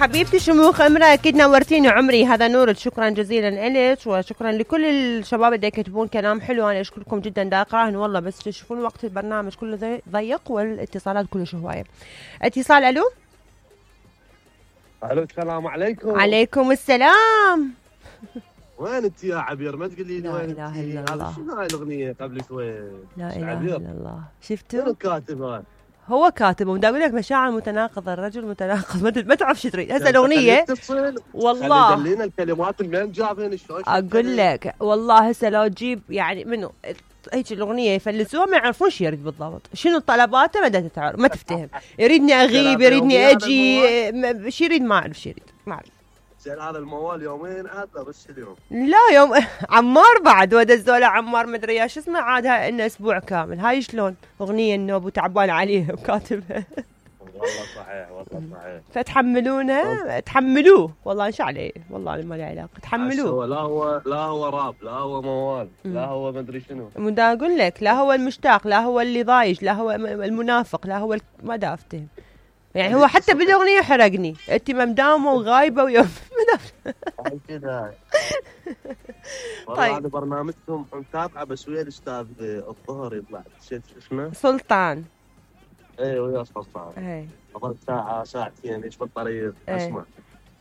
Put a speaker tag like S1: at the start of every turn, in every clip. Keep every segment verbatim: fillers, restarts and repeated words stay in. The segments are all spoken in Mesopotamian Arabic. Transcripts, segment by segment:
S1: حبيبتي شموخ امرأة اكيد نورتيني عمري. هذا نورك، شكرا جزيلا لك وشكرا لكل الشباب اللي يكتبون كلام حلو. انا اشكركم جدا دا اقراهن والله، بس تشوفون وقت البرنامج كله ضيق والاتصالات كلش هوايه. اتصال. الو
S2: الو السلام عليكم.
S1: عليكم السلام.
S2: وين انت يا عبير؟ ما تقولي لي وين؟
S1: لا اله الا الله.
S2: شنو هاي الاغنيه قبل شوي؟
S1: لا اله الا الله. شفتوا؟
S2: شنو كاتبها؟
S1: هو كاتب ودا اقول لك مشاعر متناقضه، الرجل متناقض، ما تعرف شو تريد هسه الاغنيه. والله
S2: خلينا الكلمات من جابين شلون
S1: اقول لك والله هسه لو تجيب يعني منو هيك الاغنيه يفلسوها ما يعرفون شو يريد بالضبط، شنو طلباته ما تعرف، ما تفتهم. يريدني اغيب، يريدني اجي، شو يريد ما اعرف شو يريد، ما اعرف.
S2: زين هذا الموال يومين عاد بس اليوم؟
S1: لا يوم عمار بعد ودزوله عمار مدري يا شو اسمه عاد هاي انه اسبوع كامل. هاي شلون اغنيه النوب وتعبان عليها وكاتبها.
S2: والله صحيح والله صحيح.
S1: فتحملونه تحملوه والله ان شاء عليه، والله ما لي علاقه تحملوه.
S2: لا هو لا هو راب، لا هو موال، لا هو مدري شنو.
S1: مدا اقول لك لا هو المشتاق، لا هو اللي ضايج، لا هو المنافق، لا هو ما دا افتهم. يعني هو حتى بالاغنيه حرقني، انت مداومه وغايبه ويوم
S2: كذا. والله هذا برنامجكم متابعه بس ويا الاستاذ الظهر يطلع نسيت شو اسمه؟
S1: سلطان.
S2: اي ويا سلطان.
S1: اي
S2: قضيت ساعه ساعتين ايش بالطريق اسمع.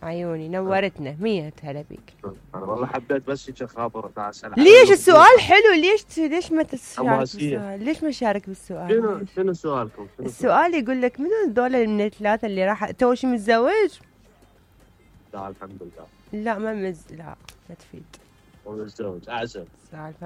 S1: عيوني نورتنا. مية هلا بيك.
S2: انا والله حبيت بس هيك خاطر اسال.
S1: ليش السؤال حلو؟ ليش ليش ما تشارك
S2: بالسؤال؟
S1: ليش ما شارك بالسؤال؟
S2: شنو شنو سؤالكم؟ شنو
S1: السؤال يقول لك منو الدولة من الثلاثة اللي راح تو شي متزوج؟
S2: لا الحمد لله.
S1: لا ما مز لا ما تفيد.
S2: ومتزوج اعزب.